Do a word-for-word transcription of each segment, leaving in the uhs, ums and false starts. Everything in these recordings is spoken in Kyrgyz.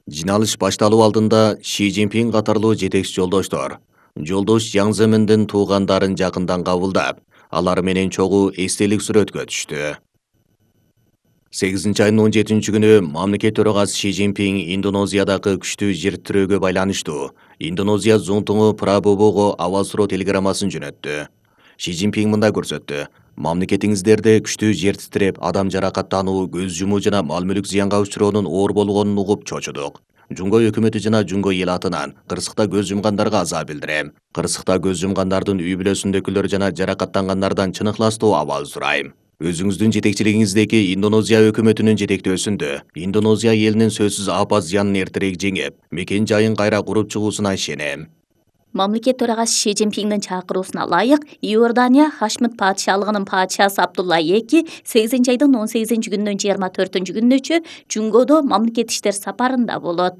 Жиналыш башталуу алдында Ши Цзиньпин катарлуу жетекчи жолдоштор жолдош Жаң Земиндин туугандарын жакындан кабылдап, алар менен чогуу эстелик сүрөткө түштү. сегизинчи айдын он жетинчи күнү мамлекет төрагасы Ши Цзиньпин Индонезиядагы күчтүү жер тирөөгө байланыштуу Индонезия зонтуңу Прабобого аба суроо телеграммасын жөнөттү. Ши Цзиньпин мындай көрсөттү: мамлекетиңиздерде күчтүү жер титиреп, адам жаракаттануу, көз жумуу жана мал мүлүк зыянга учуроонун оор болгонун угуп чочудук. Жунго өкмөтү жана Жунго эл атынан кырсыкта көз жумгандарга аза билдирем. Кырсыкта көз жумгандардын үй бүлөсүндөгүлөр жана жаракаттангандардан чын ыхластуу абал сурайм. Өзүңүздүн жетекчилигиңиздеги Индонезия өкмөтүнүн жетектөөсүндө Индонезия элинин сөзсүз апат зыянын эртерээк жеңип, мекен жайын кайра куруп чыгуусуна ишенем. Мамлекет төрагасы Ши Цзиньпиндин чакыруусуна ылайык, Иордания Хашмит падышалыгынын падышасы Абдулла эки сегизинчи айдын он сегизинчи күнүнөн жыйырма төртүнчү күнүнөчө Жунгодо мамлекет иштер сапарында болот.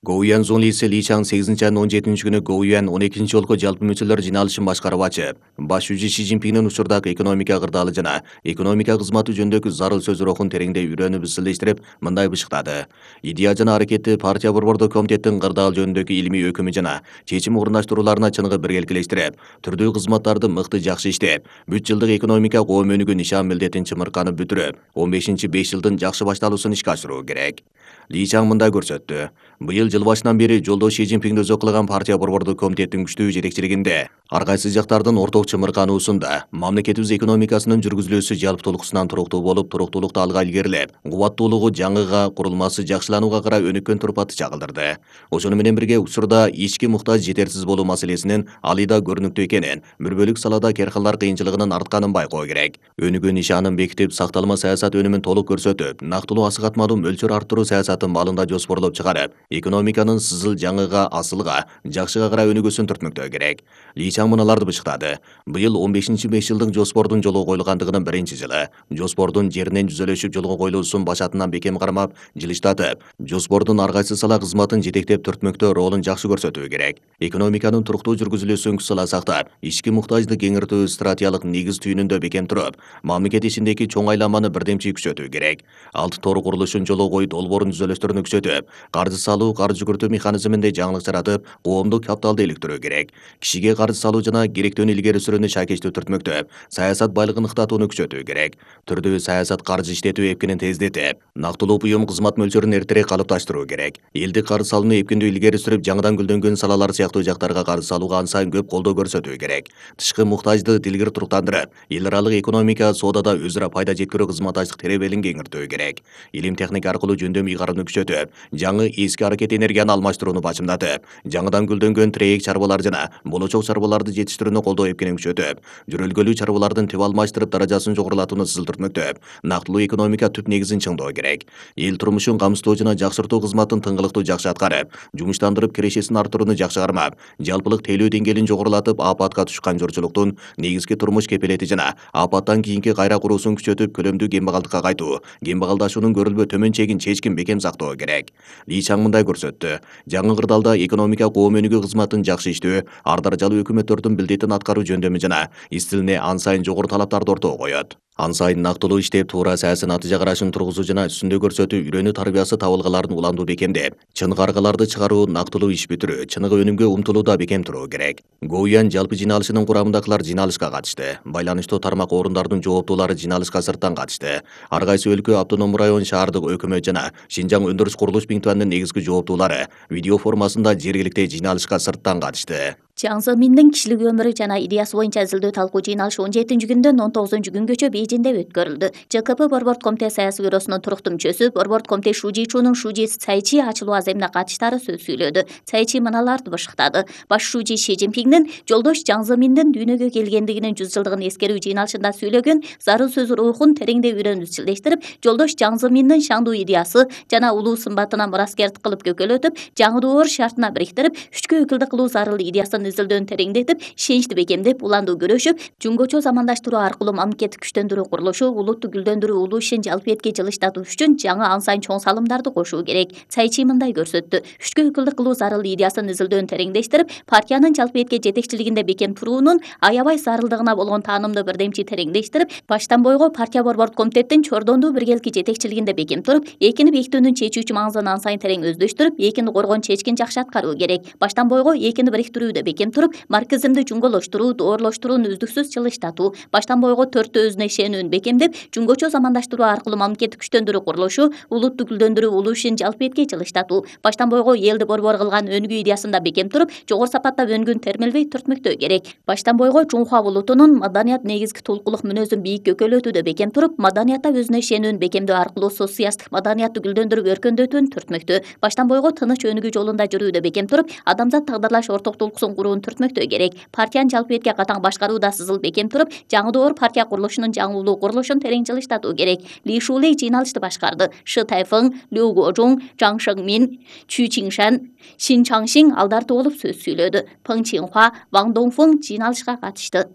Гоуян зонлиси Ли Чаң сегизинчи айдын он жетинчи күнү Гоуян он экинчи жолку жалпы мүчөлөр жиналышын башкарып ачып, баш жүзү Ши Цзиньпиндин учурдагы экономика кырдаалы жана экономика кызматы жөнүндөгү зарыл сөз рухун тереңдей үйрөнүп ысылдештирип, мындай бышыктады: идея жана аракетти партия борбордук комитеттин кырдаал жөнүндөгү илимий өкүмү жана чечим орундаштырууларына чыныгы биргеликелештирип, түрдүү кызматтарды мыкты жакшы иштеп, бүт жылдык экономика коом өнүгүү нишан милдетин чымырканып бүтүрүп, он бешинчи беш жылдын жакшы башталуусун ишке ашыруу керек. Ли Чаң мындай көрсөттү: быйыл жыл башынан бери жолдош Ши Цзиньпинди өзү кылган партия борбордук комитеттин күчтүү жетекчилигинде ар кайсы жактардын орток чымыркануусунда мамлекетибиз экономикасынын жүргүзүлүүсү жалпытуулуксунан туруктуу болуп, туруктуулукту алга илгерилеп, кубаттуулугу жаңыга, курулмасы жакшыланууга карай өнүккөн турпаты чагылдырды. Ошону менен бирге учурда ички муктаж жетерсиз болуу маселесинин алыйда көрүнүктүү экенин, бир бөлүк салада керкалар кыйынчылыгынын артканын байкоо керек. Өнүгүү нишанын бекитип, сакталма саясат өнүмүн толук көрсөтүп, нактылуу асыгатмалуу мөлчөр арттыруу саясатын маалында жоспорлоп чыгарып, экономиканын сызыл жаңыга, асылга, жакшыга карай өнүгүүсүн түртмөктөө керек. Ли Чаң мыналарды бышыктады: быйыл он бешинчи беш жылдык жоспордун жолго коюлгандыгынын биринчи жылы. Жоспордун жеринен жүзөлөшүп жолго коюлуусун башатынан бекем кармап, жылыштатып, жоспордун ар кайсы сала кызматын жетектеп түртмөктөө ролун жакшы көрсөтүү керек. Экономиканын туруктуу жүргүзүлүүсүн күч сала сактап, ички муктажды кеңиртүү стратегиялык негиз түйүнүндө бекем туруп, мамлекет ичиндеги чоң айланманы бирдемчи күчөтүү керек. Алты тор курулушун жолго коюп, долбоорун түзөлүштөрүнү күчөтүп, каржы салуу, каржы жүгүртүү механизминде жаңылык жаратып, коомдук капиталды иликтирүү керек. Кишиге каржы салуу жана керектүүнү илгери сүрүүнү шайкечтүү түртмөктөп, саясат байлыгын ыктатууну күчөтүү керек. Түрдүү саясат каржы иштетүү эпкинин тездетип, нактылуу буюм кызмат мөлчөрүн эртерээк калыпташтыруу керек. Элдик каржы салууну эпкиндүү илгери сүрүп, жаңыдан гүлдөнгөн салалар сыяктуу жактарга каржы салууга ан сайын көп колдоо көрсөтүү керек. Тышкы муктажды дилгир туруктандырып, эл аралык экономика, соодада өз ара пайда жеткирүү кызматташтык теребелин кеңиртүү керек. Илим техника аркылуу жөндөм ыйгарууну күчөтүп, жаңы эски аракет энергияны алмаштырууну бачымдатып, жаңыдан гүлдөнгөн тирээк чарбалар жана болочок чарбаларды жетиштирүүнү колдоо эпкинин күчөтүп, жүрөлгөлүү чарбалардын тип алмаштырып, даражасын жогорулатууну сызыл түртмөктөп, нактылуу экономика түп негизин чыңдоо керек. Эл турмушун камсыздоо жана жакшыртуу кызматын тыңгылыктуу жакшы аткарып, жумуштандырып, кирешесин арттырууну жакшы кармап, жалпылык тейлөө деңгээлин жогорулатып, апатка түшкөн жорчулуктун негизги турмуш кепилети жана апаттан кийинки кайра куруусун күчөтүп, көлөмдүү кембагалдыкка кайтуу, кембагалдашуунун көрүлбө төмөн чегин чечкин бекем сактоо керек. Ли Чаң мындай көрсөттү: жаңы кырдаалда экономика коом өнүгүү кызматын жакшы иштөө, ар даражалуу өкмөттөрдүн милдетин аткаруу жөндөмү жана истилине ан сайын жогору талаптарды ортого коет. Ан сайын нактылуу иштеп, туура саясий натыйжа карашын тургузуу жана үстүндө көрсөтүү, үйрөнүү тарбиясы табылгаларын уландуу бекемдеп, чын каргаларды чыгаруу, нактылуу иш бүтүрүү, чыныгы өнүмгө умтулууда бекем туруу керек. Гоуян жалпы жиналышынын курамындагылар жиналышка катышты. Байланыштуу тармак орундардын жооптуулары жиналышка сырттан катышты. Ар кайсы өлкө, автономдук район, шаардык өкмөт жана Шинжаң өндүрүш курулуш бинтуанынын негизги жооптуулары видео формасында жергиликтүү жиналышка сырттан катышты. Жаң Земиндин кишилик өмүрү жана идеясы боюнча изилдөө талкуу жыйналышы он жетинчи күндөн он тогузунчу күнгөчө Бейжиңде өткөрүлдү. ЖКП Борбордук комитет саясий бюросунун туруктуу мүчөсү, Борбордук комитет Шужи Чунун Шужи Цайчи ачылуу аземине катыштары сөз сүйлөдү. Цайчи мыналарды бышыктады: баш Шужи Ши Цзиньпиндин жолдош Жаң Земиндин дүйнөгө келгендигинин жүз жылдыгын эскерүү жыйналышында сүйлөгөн зарыл сөз рухун тереңдей үйрөнүп изчилдештирип, жолдош Жаң Земиндин шаңдуу идеясы жана улуу сымбатына мураскердик кылып көкөлөтүп, жаңы доор шартына бириктирип, үчкө өкүлдүк кылуу зарыл идеясын идеясынын изилдөөнү тереңдетип, ишеничти бекемдеп, уланду күрөшүп, жөнгөчө замандаштыруу аркылуу мамлекеттик күчтөндүрүү курулушу, улутту гүлдөндүрүү улуу ишин жалпы этке жылыштатуу үчүн жаңы ан сайын чоң салымдарды кошуу керек. Цайчи мындай көрсөттү: күчкө өкүлдүк кылуу зарыл идеясынын изилдөөнү тереңдештирип, партиянын жалпы этке жетекчилигинде бекем туруунун аябай зарылдыгына болгон таанымды бирдемчи тереңдештирип, баштан бойго партия борбордук комитеттин чордондуу биргеликки жетекчилигинде бекем туруп, экини бекитүүнүн чечүүчү маңызын ан сайын терең өздөштүрүп, экини коргоон чечкин жакшы аткаруу керек. Баштан бойго экини бириктирүүдө бекем туруп, марксизмди жуңголоштуруу, доорлоштурууну үздүксүз жылыштатуу, баштан бойго төрттө өзүнө ишенүүнү бекемдеп, жөнгөчө замандаштыруу аркылуу мамлекеттик күчтөндүрүү курулушу, улутту гүлдөндүрүү улуу ишин жалпы этке жылыштатуу, баштан бойго элди борбор кылган өнүгүү идеясында бекем туруп, жогору сапаттапөнгүн термелбей түртмөктөө керек. Баштан бойго Чуңхуа улутунун маданият негизги тулкулук мүнөзүн бийик көкөлөтүүдө бекем туруп, маданиятта өзүнө ишенүүнү бекемдөө аркылуу социалисттик маданиятты гүлдөндүрүп өркөндөтүүнү түртмөктөө, баштан бойго тыныч өнүгүү жолунда жүрүүдө бекем туруп, адамзат тагдырлаш орток тулкуусун курууну түртмөктөө керек. Партиянын жалпы этке катаң башкарууда сызыл бекем туруп, жаңы доор партия курулушунун жаңы улуу курулушун терең жылыштатуу керек. Ли Шулей жыйналышты башкарды. Шы Тайфeng, Лю Гожуң, Жаң Шengмин, Чү Чиншан, Шин Чаңшин алдарты болуп сөз сүйлөдү. Пeng Чинхуа, Ваң Доңфeng жыйналышка катышты.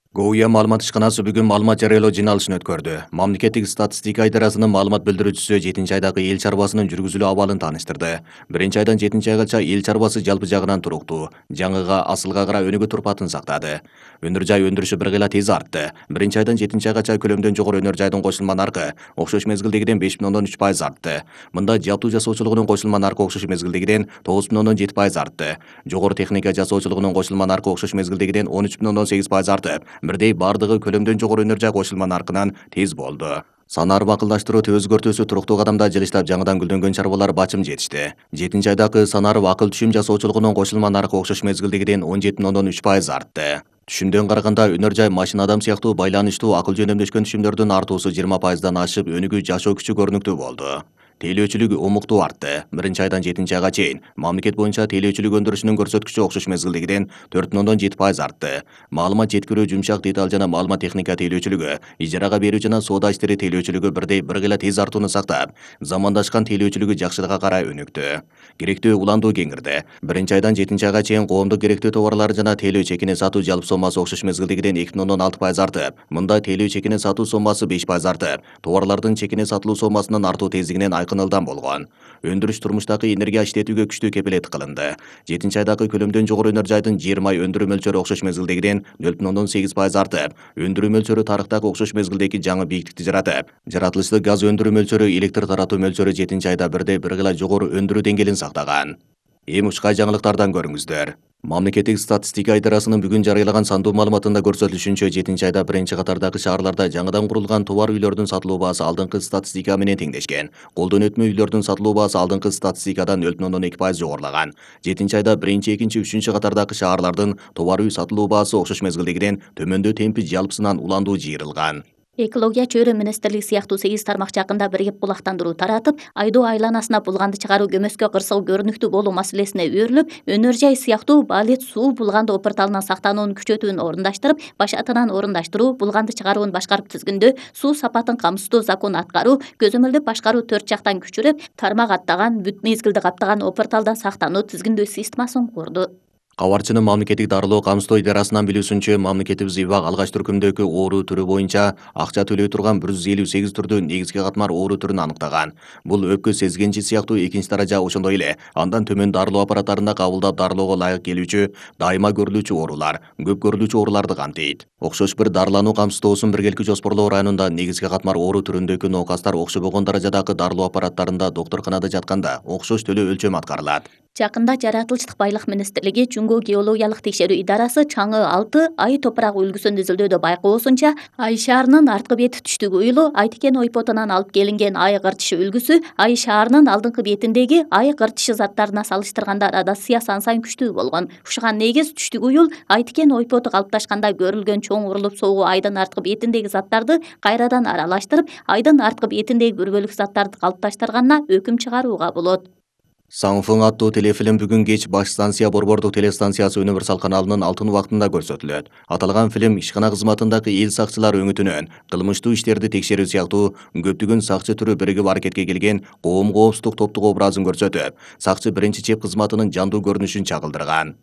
Гоуя маалымат ишканасы бүгүн маалымат жарыялоо жыйналышын өткөрдү. Мамлекеттик статистика идарасынын маалымат билдирүүчүсү жетинчи айдагы эл чарбасынын жүргүзүлүү абалын тааныштырды. Биринчи айдан жетинчи айгача эл чарбасы жалпы жагынан туруктуу, жаңыга асылга караа өнүгүү турпатын сактады. Өнөр жай өндүрүшү бир кыйла тез артты. Биринчи айдан жетинчи айгача көлөмдөн жогору өнөр жайдын кошулма наркы окшош мезгилдегиден беш бүтүн ондон үч пайыз артты. Мында жабдуу жасоочулугунун кошулма наркы окшош мезгилдегиден тогуз бүтүн ондон жети пайыз артты. Жогору техника жасоочулугунун кошулма наркы окшош мезгилдегиден он үч бүтүн ондон сегиз пайыз артып, бирдей бардыгы көлөмдөн жогору өнөр жай кошулма наркынан тез болду. Санар бакылдаштыруу өзгөртүүсү туруктуу кадамда жылыштап, жаңыдан гүлдөнгөн чарбалар бачым жетишти. жетинчи айдагы санар акыл түшүм жасоочулугунун кошулма наркы окшош мезгилдегиден он жети бүтүн ондон үч пайыз артты. Түшүмдөн караганда өнөр жай машина адам сыяктуу байланыштуу акыл жөнөмдөшкөн түшүмдөрдүн артуусу жыйырма пайыздан ашып, өнүгүү жашоо күчү көрүнүктүү болду. Тейлөөчүлүк умуктуу артты. Биринчи айдан жетинчи айга чейин мамлекет боюнча тейлөөчүлүк өндүрүшүнүн көрсөткүчү окшош мезгилдегиден төрт бүтүн ондон жети пайыз артты. Маалымат жеткирүү, жумшак деталь жана маалымат техника тейлөөчүлүгү, ижарага берүү жана соода иштери тейлөөчүлүгү бирдей бир кыйла тез артууну сактап, замандашкан тейлөөчүлүгү жакшылыкка карай өнүктү. Керектүү уландуу кеңирди. Биринчи айдан жетинчи айга чейин коомдук керектүү товарлар жана тейлөө чекини сатуу жалпы соммасы окшош мезгилдегиден эки бүтүн ондон алты пайыз артып, мында тейлөө чекини сатуу соммасы беш пайыз артып, товарлардын чекини сатылуу соммасынын артуу тездигинен айкын ылдам болгон. Өндүрүш турмуштагы энергия иштетүүгө күчтүү кепилет кылынды. жетинчи айдагы көлөмдөн жогору өнөр жайдын жыйырма ай өндүрүү мөлчөрү окшош мезгилдегиден нөл бүтүн ондон сегиз пайыз артып, өндүрүү мөлчөрү тарыхтагы окшош мезгилдеги жаңы бийиктикти жаратып, жаратылыштык газ өндүрүү мөлчөрү, электр таратуу мөлчөрү жетинчи айда бирдей бир кыйла жогору өндүрүү деңгээлин сактаган. Эми ушкай жаңылыктардан көрүңүздөр. Мамлекеттик статистика идарасынын бүгүн жарыялаган сандуу маалыматында көрсөтүлүшүнчө, жетинчи айда биринчи катардагы шаарларда жаңыдан курулган товар үйлөрдүн сатылуу баасы алдыңкы статистика менен теңдешкен. Колдон өтмө үйлөрдүн сатылуу баасы алдыңкы статистикадан нөл бүтүн ондон эки пайыз жогорулаган. жетинчи айда биринчи, экинчи, үчүнчү катардагы шаарлардын товар үй сатылуу баасы окшош мезгилдегиден төмөндөө темпи жалпысынан уландуу жыйырылган. Экология, чөйрө министрлиги сыяктуу сегиз тармак жакында биригип булактандыруу таратып, айдоо айланасына булганды чыгаруу көмөскө кырсыгы көрүнүктүү болуу маселесине өөрүлүп, өнөр жай сыяктуу балет суу булганды опурталынан сактануунун күчөтүүнү орундаштырып, башатынан орундаштыруу, булганды чыгаруун башкарып тизгиндөө, суу сапатын камсыздоо закону аткаруу, көзөмөлдөп башкаруу төрт жактан күчүрөп, тармак аттаган, бүт мезгилди каптаган опурталдан сактануу тизгиндөө системасын курду. Кабарчынын мамлекеттик дарылоо камсыздоо идарасынан билүүсүнчө, мамлекетибиз ИБАК алгач түркүмдөгү оору түрү боюнча акча төлөй турган бир жүз элүү сегиз түрдүү негизги катмар оору түрүн аныктаган. Бул өпкө сезгенчи сыяктуу экинчи даража, ошондой эле андан төмөн дарылоо аппараттарында кабылдап дарылоого ылайык келүүчү, дайыма көрүлүүчү оорулар, көп көрүлүүчү ооруларды камтыйт. Окшош бир дарылануу камсыздоосун биргеликти жоспорлоо районунда негизги катмар оору түрүндөгү ноокастар окшобогон даражадагы дарылоо аппараттарында доктурканада жатканда окшош төлөө өлчөм аткарылат. Жакында Жаратылыштык байлык министрлиги Чуңгу геологиялык текшерүү идарасы чаңы алты ай топурак үлгүсүн изилдөөдө байкоосунча, Ай шаарынын арткы бети түштүк уюлу Айтикен ойпотунан алып келинген ай кыртышы үлгүсү Ай шаарынын алдыңкы бетиндеги ай кыртышы заттарына салыштырганда радиациясы ан сайын күчтүү болгон. Ушуга негиз түштүк уюл Айтикен ойпоту калыпташканда көрүлгөн чоң урулуп согуу айдын арткы бетиндеги заттарды кайрадан аралаштырып, айдын арткы бетиндеги бир бөлүк заттарды калыпташтырганына өкүм чыгарууга болот. Саңфың аттуу телефилм бүгүн кеч Баш станция борбордук телестанциясы Универсал каналынын алтын убактында көрсөтүлөт. Аталган фильм ишкана кызматындагы эл сакчылар өңүтүнөн кылмыштуу иштерди текшерүү сыяктуу көптөгөн сакчы түрү биригип аракетке келген коом коопсуздук топтук образын көрсөтүп, сакчы биринчи чеп кызматынын жандуу көрүнүшүн чагылдырган.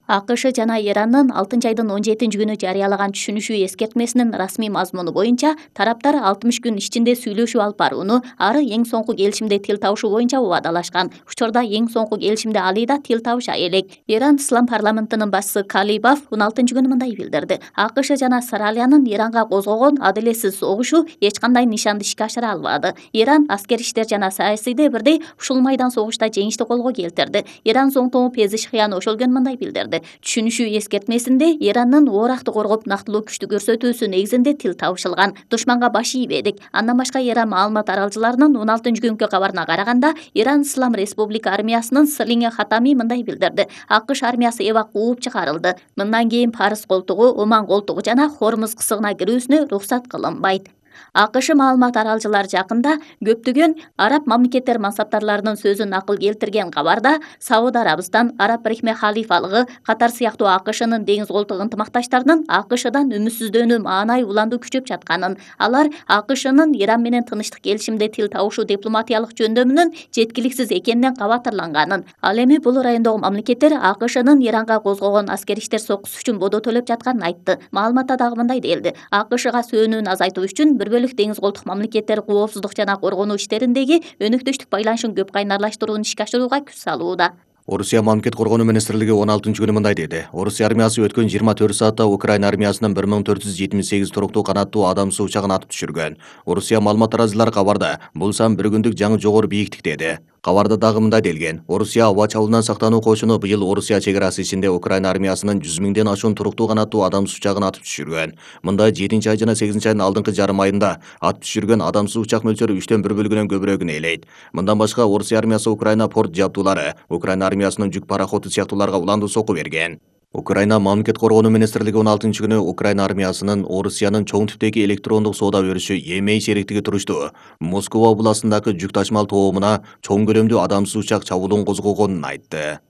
АКШ жана Ирандын алтынчы айдын он жетинчи күнү жарыялаган түшүнүшүү эскертмесинин расмий мазмуну боюнча тараптар алтымыш күн ичинде сүйлөшүү алып барууну, ары эң соңку келишимде тил табышуу боюнча убадалашкан. Учурда эң соңку келишимде Алида тил табыша элек. Иран ислам парламентинин башчысы Калибаф он алтынчы күнү мындай билдирди: АКШ жана Саралиянын Иранга козгогон адилетсиз согушу эч кандай нишанды ишке ашыра албады. Иран аскер иштер жана саясийде бирдей ушул майдан согушта жеңишти колго келтирди. Иран зоңтоңу Пезишхиян ошол күнү мындай билдирди: түшүнүшүү эскертмесинде Ирандын ооракты коргоп нактылуу күчтү көрсөтүүсү негизинде тил табышылган. Душманга баш ийбедик. Андан башка Иран маалымат аралчыларынын он алтынчы күнгү кабарына караганда, Иран Ислам Республика армиясынын Слиңе Хатами мындай билдирди: АКШ армиясы эвак кууп чыгарылды. Мындан кийин Парс колтугу, Оман колтугу жана Хормуз кысыгына кирүүсүнө уруксат кылынбайт. АКШ маалымат аралчылары жакында көптөгөн араб мамлекеттер мансаптарларынын сөзүн накыл келтирген кабарда Сауд Арабистан, Араб Бирикме Халифалыгы, Катар сыяктуу АКШнын деңиз колтук ынтымакташтарынын АКШдан үмүтсүздөнүү маанай уланду күчөп жатканын, алар АКШнын Иран менен тынчтык келишимде тил табышуу дипломатиялык жөндөмүнүн жеткиликсиз экенинен кабатырланганын, ал эми бул райондогу мамлекеттер АКШнын Иранга козгогон аскер иштер сокусу үчүн бодо төлөп жатканын айтты. Маалыматта дагы мындай делди: АКШга сөөнүүнү азайтуу үчүн бир бөлүк деңиз колтук мамлекеттер коопсуздук жана коргонуу иштериндеги өнөктөштүк байланышын көп кайнарлаштырууну ишке ашырууга күч салууда. Орусия мамлекет коргонуу министрлиги он алтынчы күнү мындай деди: Орусия армиясы өткөн жыйырма төрт саатта Украина армиясынын бир миң төрт жүз жетимиш сегиз туруктуу канаттуу адамсыз учагын атып түшүргөн. Орусия маалымат аралчылары кабарда бул сан бир күндүк жаңы жогору бийиктикте деди. Кабарда дагы мындай делген: Орусия аба чабуулунан сактануу кошуну быйыл Орусия чек арасы ичинде Украина армиясынын жүз миңден ашуун туруктуу канаттуу адамсыз учагын атып түшүргөн. Мында жетинчи ай жана сегизинчи айдын алдыңкы жарым айында атып түшүргөн адамсыз учак мөлчөрү үчтөн бир бөлүгүнөн көбүрөөгүн ээлейт. Мындан башка Орусия армиясы Украина порт жабдуулары, Украина армиясынын жүк пароходу сыяктууларга уландуу сокку берген. Украина мамлекет коргонуу министрлиги он алтынчы күнү Украина армиясынын Орусиянын чоң типтеги электрондук соода өрүшү Емей шериктиги туруштуу Москва областындагы жүк ташымал тоомуна чоң көлөмдүү адамсыз учак чабуулун козгогонун айтты.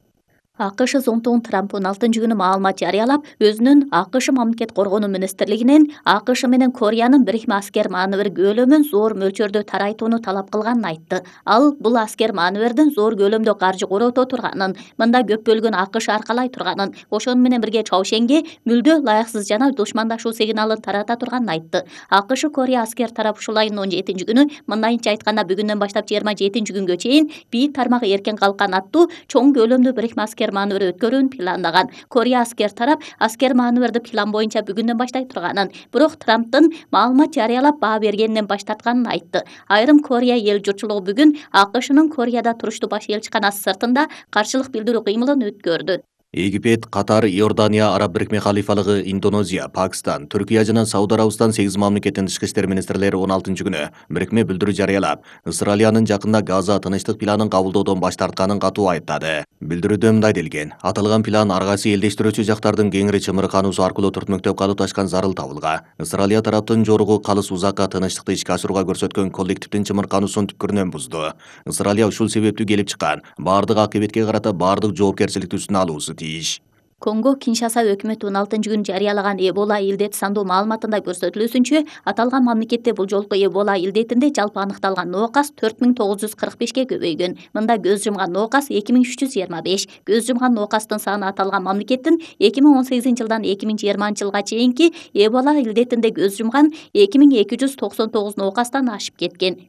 АКШ зоңтоң Трамп он алтынчы күнү маалымат жарыялап, өзүнүн АКШ мамлекет коргонуу министрлигинен АКШ менен Кореянын бирикме аскер маневр көлөмүн зор мөлчөрдө тарайтууну талап кылганын айтты. Ал бул аскер маневрдин зор көлөмдө каржы корото турганын, мында көп бөлүгүн АКШ аркалай турганын, ошону менен бирге Чаушенге мүлдө ылайыксыз жана душмандашуу сигналын тарата турганын айтты. АКШ Корея аскер тарап ушул айдын он жетинчи күнү, мындайынча айтканда бүгүндөн баштап жыйырма жетинчи күнгө чейин бийик тармагы эркен калкан аттуу чоң көлөмдүү бирикме аскер маневр өткөрүүнү планлаган. Корея аскер тарап аскер маневрди план боюнча бүгүндөн баштай турганын, бирок Трамптын маалымат жарыялап баа бергенинен баш тартканын айтты. Айрым Корея эл журтчулугу бүгүн АКШнын Кореяда туруштуу баш элчиканасы сыртында каршылык билдирүү кыймылын өткөрдү. Египет, Катар, Иордания, Араб Бирикме Халифалыгы, Индонезия, Пакистан, Түркия жана Сауд Арабистан сегиз мамлекеттин тышкы иштер министрлери он алтынчы күнү бирикме билдирүү жарыялап, Израилянын жакында Газа тынычтык планын кабылдоодон баш тартканын катуу айыптады. Билдирүүдө мындай делген: аталган план ар кайсы элдештирүүчү жактардын кеңири чымыркануусу аркылуу түртмөктөп калыпташкан зарыл табылга. Израилия тараптын жоругу калыс узакка тынычтыкты ишке ашырууга көрсөткөн коллективдин чымыркануусун түпкүрүнөн бузду. Израилия ушул себептүү келип чыккан баардык акыбетке карата баардык жоопкерчиликти үстүнө алуусу тийиш. Конго Киншаса өкмөтү он алтынчы күнү жарыялаган Эбола илдети сандуу маалыматында көрсөтүлүүсүнчө, аталган мамлекетте бул жолку Эбола илдетинде жалпы аныкталган ноокас төрт миң тогуз жүз кырк бешке көбөйгөн. Мында көз жумган ноокас эки миң үч жүз жыйырма беш. Көз жумган ноокастын саны аталган мамлекеттин эки миң он сегизинчи жылдан эки миң жыйырманчы жылга чейинки Эбола илдетинде көз жумган эки миң эки жүз токсон тогуз ноокастан ашып кеткен.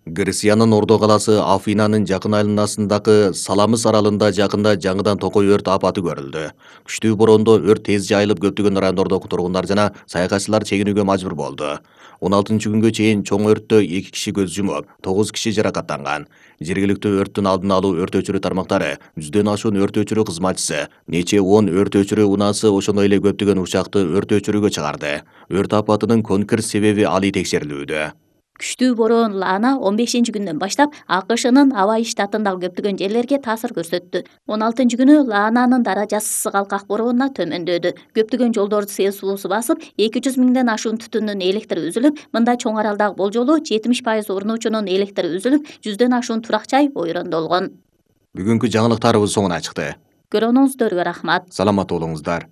Грекиянын Ордо каласы Афинанын жакын айланасындагы Саламыс аралында жакында жаңыдан токой өрт апаты көрүлдү. Күчтүү бороондо өрт тез жайылып, көптөгөн райондордогу тургундар жана саякатчылар чегинүүгө мажбур болду. он алтынчы күнгө чейин чоң өрттө эки киши көз жумуп, тогуз киши жаракаттанган. Жергиликтүү өрттүн алдын алуу өрт өчүрүү тармактары, жүздөн ашуун өрт өчүрүү кызматчысы, нече он өрт өчүрүү унаасы, ошондой эле көптөгөн учакты өрт өчүрүүгө чыгарды. Өрт апатынын конкрет себеби али текшерилүүдө. Күчтүү бороон Лана он бешинчи күндөн баштап АКШнын Авай штатындагы көптөгөн жерлерге таасир көрсөттү. он алтынчы күнү Лананын даражасы сыгалкак бороонуна төмөндөдү. Көптөгөн жолдорду сел суусу басып, эки жүз миңден ашуун түтүндүн электри үзүлүп, мында чоң аралдагы болжолу жетимиш пайыз урнуучунун электри үзүлүп, жүздөн ашуун турак жай ойрондолгон. Бүгүнкү жаңылыктарыбыз соңуна чыкты. Көргөнүңүздөргө рахмат. Саламат болуңуздар.